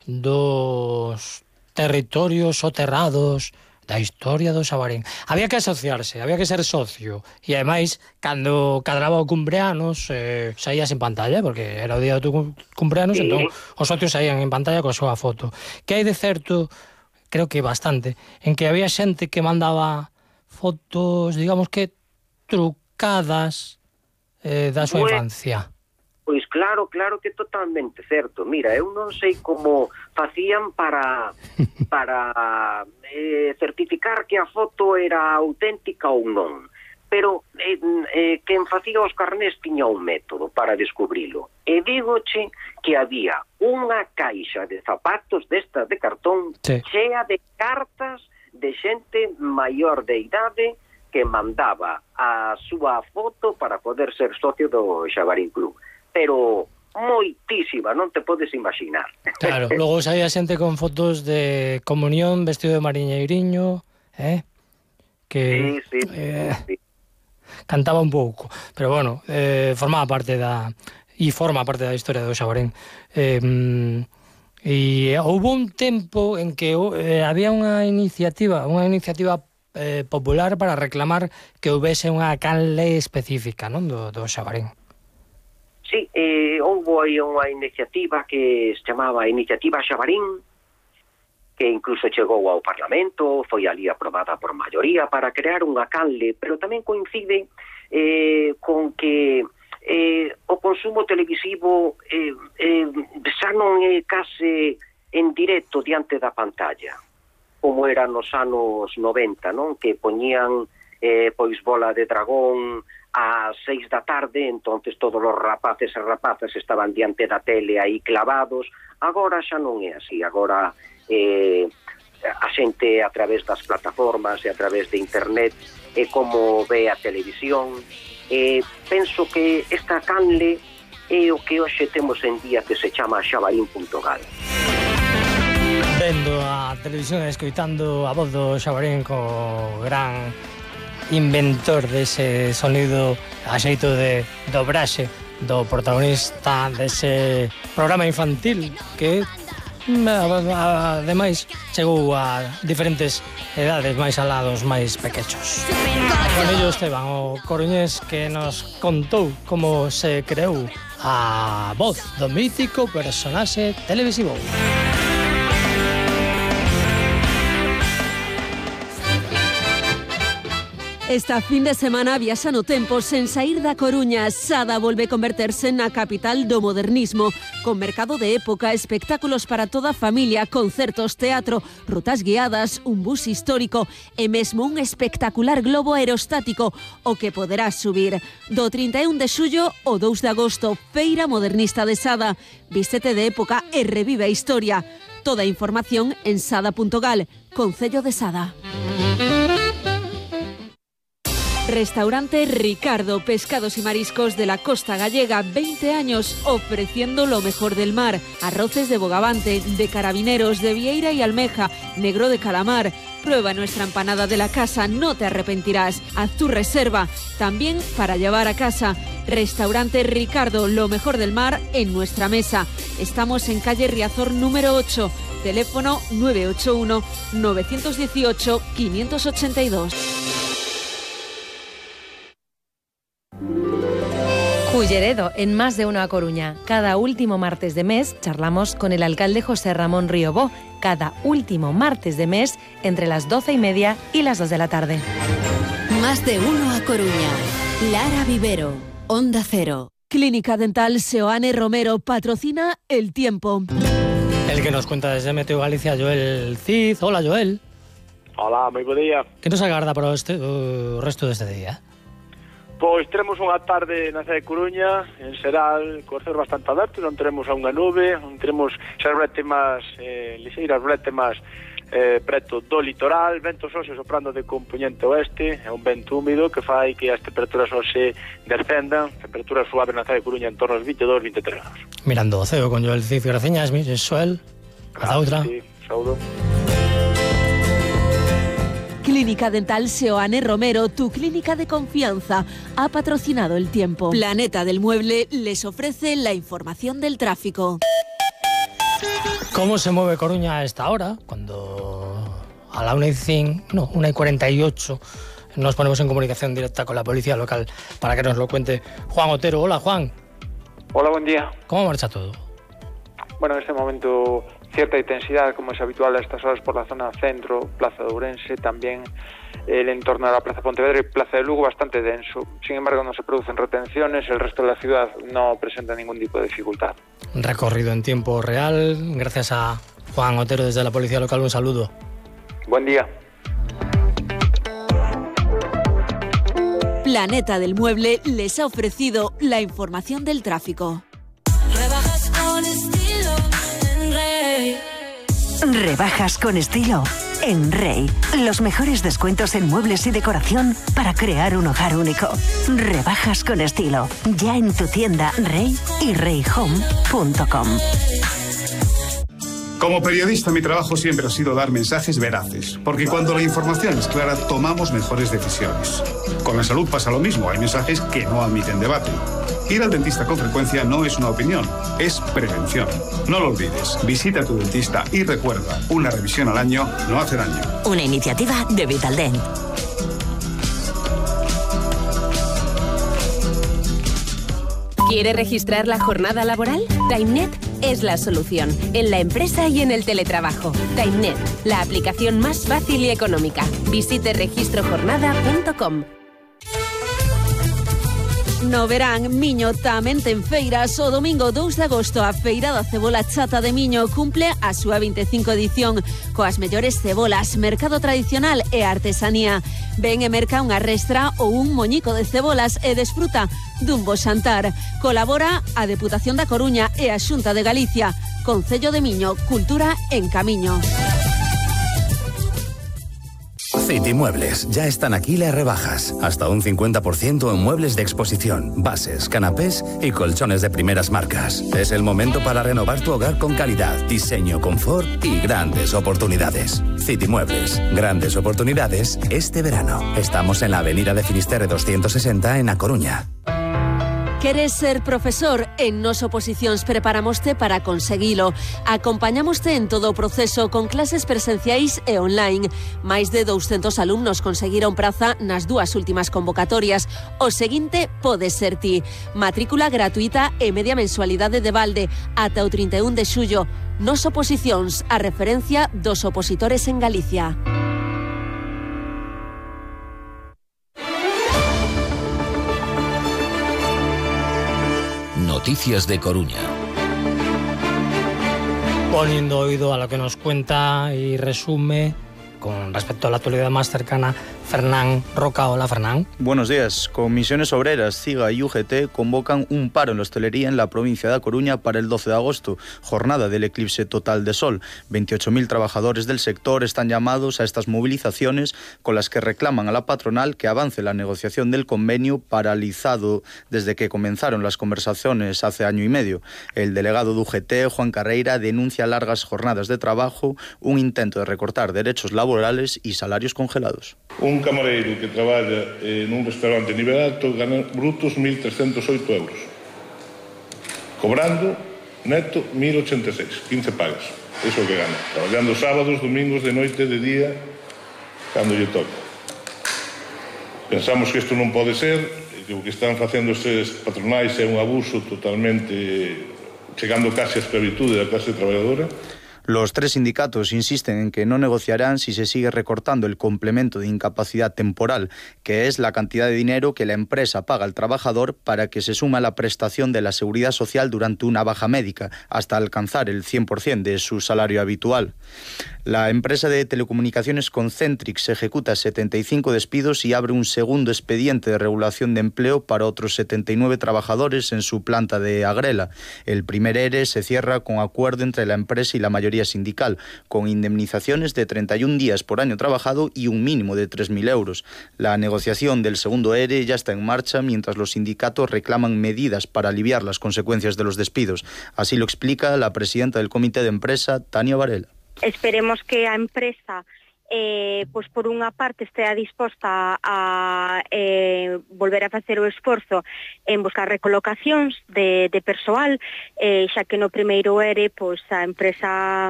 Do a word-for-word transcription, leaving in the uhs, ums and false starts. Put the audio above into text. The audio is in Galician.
dos territorios soterrados da historia do Xabarín. Había que asociarse, había que ser socio, e ademais, cando cadraba o cumpleanos, eh, saías en pantalla, porque era o día do tu cumpleanos, sí. Entón os socios saían en pantalla coa súa foto. Que hai de certo, creo que bastante, en que había xente que mandaba fotos, digamos que trucadas eh, da súa bueno. infancia. Pois claro, claro que totalmente certo. Mira, eu non sei como facían para para eh, certificar que a foto era auténtica ou non. Pero eh, eh, quen facía os carnés tiña un método para descubrilo. E dígoche que había unha caixa de zapatos destas de cartón sí. chea de cartas de xente maior de idade que mandaba a súa foto para poder ser socio do Xabarín Club. Pero moitísima, non te podes imaginar. Claro, logo saía xente con fotos de comunión, vestido de mariñeiriño, eh? Que sí, sí, eh, sí, sí. cantaba un pouco, pero bueno, eh, formaba parte da e forma parte da historia do Xabarín. Eh, e houve un tempo en que eh, había unha iniciativa, unha iniciativa eh, popular para reclamar que houvese unha canle específica, non, do, do Xabarín. Sí, eh, houve aí unha iniciativa que se chamaba Iniciativa Xabarín, que incluso chegou ao Parlamento, foi ali aprobada por maioría para crear unha canle, pero tamén coincide eh, con que eh, o consumo televisivo eh, eh, xa non é case en directo diante da pantalla, como era nos anos noventa, non? Que poñían eh, pois Bola de Dragón ás seis da tarde, entonces todos os rapaces e rapazas estaban diante da tele aí clavados. Agora xa non é así, agora eh, a xente a través das plataformas e a través de internet é como ve a televisión. Eh, penso que esta canle é o que hoxe temos en día que se chama xabarín punto gal. Vendo a televisión e escoitando a voz do Xabarín co gran inventor dese sonido a xeito de dobraxe do protagonista dese programa infantil que ademais chegou a diferentes edades máis alados máis pequechos. Con ello Esteban, o coruñés que nos contou como se creou a voz do mítico personaxe televisivo. Esta fin de semana viaxa no tempo sen saír da Coruña. Sada volve converterse na capital do modernismo, con mercado de época, espectáculos para toda a familia, concertos, teatro, rutas guiadas, un bus histórico e mesmo un espectacular globo aerostático, o que poderás subir. Do trinta e un de xullo ao dous de agosto, Feira Modernista de Sada. Vístete de época e revive a historia. Toda a información en sada punto gal, Concello de Sada. Restaurante Ricardo, pescados y mariscos de la costa gallega, veinte años ofreciendo lo mejor del mar. Arroces de bogavante, de carabineros, de vieira y almeja, negro de calamar. Prueba nuestra empanada de la casa, no te arrepentirás. Haz tu reserva, también para llevar a casa. Restaurante Ricardo, lo mejor del mar en nuestra mesa. Estamos en calle Riazor número ocho, teléfono nueve ocho uno, nueve uno ocho, cinco ocho dos. Culleredo, en Más de Uno a Coruña. Cada último martes de mes charlamos con el alcalde José Ramón Riobó. Cada último martes de mes entre las doce y media y las dos de la tarde. Más de Uno a Coruña. Lara Vivero, Onda Cero. Clínica Dental Seoane Romero patrocina El Tiempo. El que nos cuenta desde Meteo Galicia, Joel Cid. Hola, Joel. Hola, moi bo día. Que nos agarda para este, o resto deste día? Pois teremos unha tarde na cidade de Coruña, en xeral, co céu bastante aberto, non teremos a unha nube, non teremos xas brétemas, eh, lixeiras brétemas eh, preto do litoral, ventos hoxe soprando de componente oeste, é un vento húmido que fai que as temperaturas hoxe descendan, temperaturas suaves na cidade de Coruña en torno aos veintidós, veintitrés grados. Mirando o ceo con Joel Cid, graciñas, mi Xoel, a outra. Sí, saúdo. Clínica Dental Seoane Romero, tu clínica de confianza, ha patrocinado El Tiempo. Planeta del Mueble les ofrece la información del tráfico. ¿Cómo se mueve Coruña a esta hora? Cuando a la una y cinco, no, una y cuarenta y ocho nos ponemos en comunicación directa con la policía local para que nos lo cuente Juan Otero. Hola, Juan. Hola, buen día. ¿Cómo marcha todo? Bueno, en este momento cierta intensidad, como es habitual a estas horas por la zona centro, Plaza de Ourense, también el entorno de la Plaza Pontevedra y Plaza de Lugo bastante denso. Sin embargo, no se producen retenciones, el resto de la ciudad no presenta ningún tipo de dificultad. Recorrido en tiempo real, gracias a Juan Otero desde la policía local, un saludo. Buen día. Planeta del Mueble les ha ofrecido la información del tráfico. Rebajas con estilo en Rey. Rebajas con estilo en Rey. Los mejores descuentos en muebles y decoración para crear un hogar único. Rebajas con estilo. Ya en tu tienda Rey y rey home punto com. Como periodista, mi trabajo siempre ha sido dar mensajes veraces, porque cuando la información es clara, tomamos mejores decisiones. Con la salud pasa lo mismo, hay mensajes que no admiten debate. Ir al dentista con frecuencia no es una opinión, es prevención. No lo olvides, visita a tu dentista y recuerda, una revisión al año no hace daño. Una iniciativa de Vitaldent. ¿Quiere registrar la jornada laboral? TimeNet es la solución, en la empresa y en el teletrabajo. TimeNet, la aplicación más fácil y económica. Visite registro jornada punto com. No verán, Miño tamén ten feiras. O domingo dous de agosto a Feira da Cebola Chata de Miño cumple a súa vinte e cinco edición coas mellores cebolas, mercado tradicional e artesanía. Ven e merca unha restra ou un moñico de cebolas e desfruta dun bo xantar. Colabora a Deputación da Coruña e a Xunta de Galicia. Concello de Miño, cultura en camiño. City Muebles, ya están aquí las rebajas. Hasta un cincuenta por ciento en muebles de exposición, bases, canapés y colchones de primeras marcas. Es el momento para renovar tu hogar con calidad, diseño, confort y grandes oportunidades. City Muebles, grandes oportunidades este verano. Estamos en la avenida de Finisterre doscientos sesenta en A Coruña. Queres ser profesor? En Nos Oposicións preparamoste para conseguilo. Acompañamoste en todo o proceso con clases presenciais e online. Máis de douscentos alumnos conseguiron praza nas dúas últimas convocatorias. O seguinte pode ser ti. Matrícula gratuita e media mensualidade de balde ata o trinta e un de xullo. Nos Oposicións, a referencia dos opositores en Galicia. Noticias de Coruña. Poniendo oído a lo que nos cuenta y resume con respecto a la actualidad más cercana, Fernán Roca. Hola, Fernán. Buenos días. Comisiones Obreras, CIGA y U G T convocan un paro en la hostelería en la provincia de A Coruña para el doce de agosto, jornada del eclipse total de sol. veintiocho mil trabajadores del sector están llamados a estas movilizaciones con las que reclaman a la patronal que avance la negociación del convenio paralizado desde que comenzaron las conversaciones hace año y medio. El delegado de U G T, Juan Carreira, denuncia largas jornadas de trabajo, un intento de recortar derechos laborales y salarios congelados. Un camareiro que traballa en un restaurante de nivel alto gana brutos mil trescentos oito euros, cobrando neto mil ochenta e seis, quince pagas. Eso é o que gana, traballando sábados, domingos, de noite, de día, cando lle toca. Pensamos que isto non pode ser, que o que están facendo estes patronais é un abuso totalmente, chegando case a esclavitude da clase traballadora. Los tres sindicatos insisten en que no negociarán si se sigue recortando el complemento de incapacidad temporal, que es la cantidad de dinero que la empresa paga al trabajador para que se suma la prestación de la seguridad social durante una baja médica, hasta alcanzar el cien por ciento de su salario habitual. La empresa de telecomunicaciones Concentrix ejecuta setenta y cinco despidos y abre un segundo expediente de regulación de empleo para otros setenta y nueve trabajadores en su planta de Agrela. El primer E R E se cierra con acuerdo entre la empresa y la mayoría sindical, con indemnizaciones de treinta y un días por año trabajado y un mínimo de tres mil euros. La negociación del segundo E R E ya está en marcha, mientras los sindicatos reclaman medidas para aliviar las consecuencias de los despidos. Así lo explica la presidenta del comité de empresa, Tania Varela. Esperemos que a empresa eh, pois por unha parte estea disposta a eh, volver a facer o esforzo en buscar recolocacións de, de persoal, eh, xa que no primeiro ERE pois a empresa